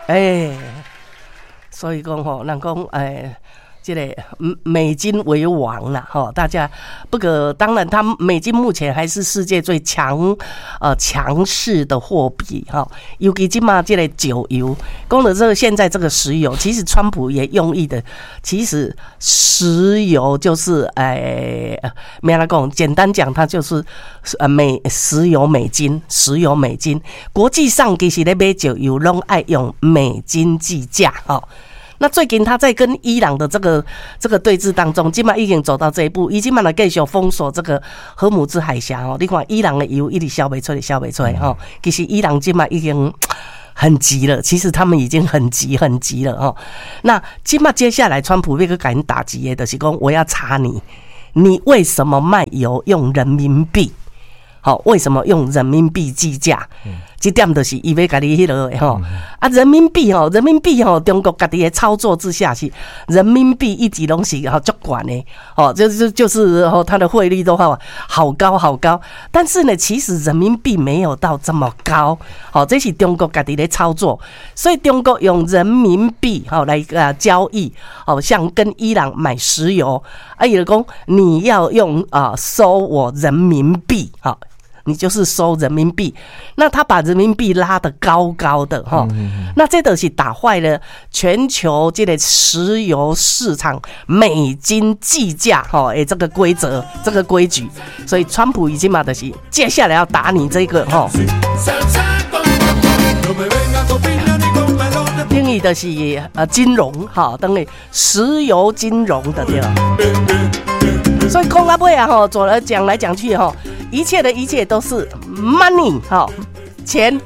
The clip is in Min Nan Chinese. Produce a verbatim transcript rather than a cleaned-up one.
欸，所以講吼，人講欸，這个美金為王啦，吼，大家不過當然，它美金目前還是世界最強呃強勢的貨幣，哈。尤其這馬這个石油，講的這個現在這個石油，其實川普也用意的，其實石油就是哎，沒來講，簡單講，它就是呃美石油美金，石油美金，國際上其實咧買石油攏愛用美金計價，哈。那最近他在跟伊朗的這個這個對峙當中，這馬已經走到這一步，伊這馬來繼續封鎖這個荷姆茲海峽哦。你看伊朗的油一直銷袂出，銷袂出來吼。其實伊朗這馬已經很急了，其實他們已經很急很急了哦。那這馬接下來，川普欲閣共𪜶打擊的，就是講我要查你，你為什麼賣油用人民幣？好，為什麼用人民幣計價？這點就是伊欲共你彼落的吼。啊，人民幣吼，人民幣吼，中國家己的操作之下是人民幣一直攏是吼足懸的，哦，就是就是吼，它的匯率都好好高好高。但是呢，其實人民幣沒有到這麼高，好，這是中國家己咧操作，所以中國用人民幣吼來啊交易，好像跟伊朗買石油，啊，伊就講你要用啊收我人民幣，哈。你就是收人民幣，那他把人民幣拉得高高的哈，那這都是打壞了全球這個石油市場美金計價哈，欸，這個規則這個規矩，所以川普已經嘛就是接下來要打你這個哈。等於就是呃金融哈，等於石油金融的對吧？所以講到尾啊吼，做來講來講去吼，一切的一切都是 money 哈，錢 money。